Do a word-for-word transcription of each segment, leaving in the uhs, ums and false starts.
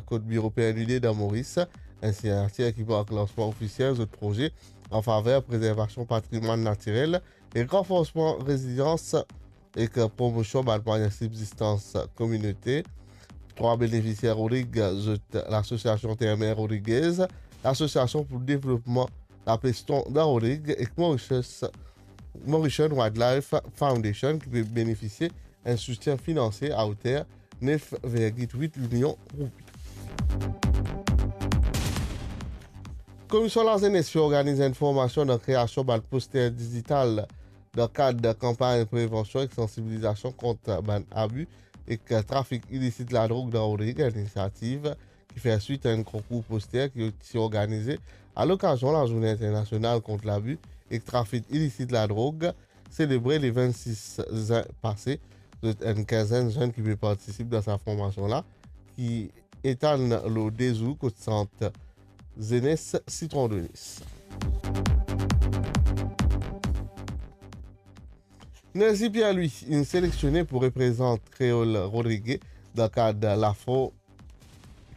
kot biro P N U D dan Moris, enn signatir ki mark lansman ofisiel zot proze an faver prezervasion patrimwann natirel ek ranforsman rezilians ek promosion bann mwayin sibzistans kominote. Trwa benefisier Rodrig, zot Lasosiasion Terre-Mer Rodriguez, Lasosiasion pou Devlopman Lapeston dan Rodrig ek Mauritius, Mauritian Wildlife Foundation ki pe benefisie enn soutien finansie a oter nef virgil wit milion roupi. Komisyon Lazenes pe organiz enn formasion dan kreasion bann poster dizital dan kad kanpagn prevansion ek sansibilizasion kont bann abi ek trafik ilisit ladrog dan Rodrig, enn inisiativ ki fer swit a enn konkour poster ki ti organize alokazion Lazourne Internasional kont Labi ek Trafik Ilisit Ladrog, selebre le vennsis zin pase. Zot enn kinzenn zenn ki pe partisip dan sa formasion la, ki etal lor de zour kot sant Zenes Sitron de Nis. Nerzi Pierre-Louis inn selektione pou reprezant Kreol Rodrige dan kad Lafo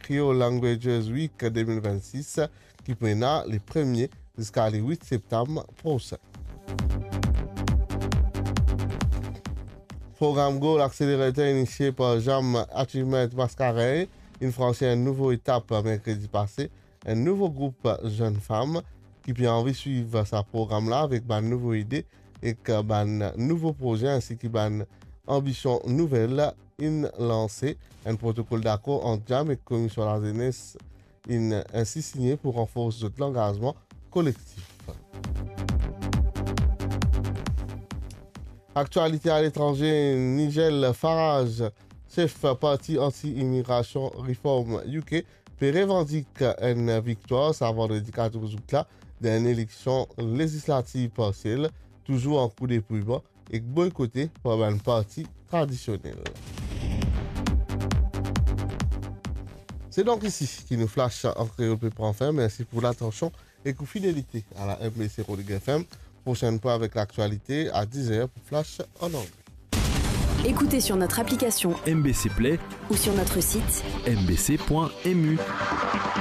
Creole Languages Week de mil vennsis, ki pou ena le premie ziska le wit septam prosin. Program Goal Accelerator inisie par Jam Achievement Mascarenhas inn fransi enn nouvo etap merkredi pase. Enn nouvo group zenn fam ki pe anvi swiv sa program la avek bann nouvo ide ek bann nouvo proze, ensi ki bann anbision nouvel, inn lanse enn protokol dakor ant Jam ek Komisyon Lazenes, inn ensi signe pou ranforse zot langazman kolektif. Aktialite aletranze, Nigel Farage, sef parti anti-imigrasion Reform U K, pe revandik enn viktwar sa vandredi katorz out la dan enn eleksion lezislativ parsiel, touzour an kou depouy-man ek boykote par bann parti tradisionel. Se donk isi ki nou flash an kreol pe pran fin. Mersi pou latansion ek ou fidelite a la M B C Rodrigues F M. Prosenn fwa avek laktialite a diz er pou flash an angle. Écoutez sur notre application M B C Play ou sur notre site M B C point M U.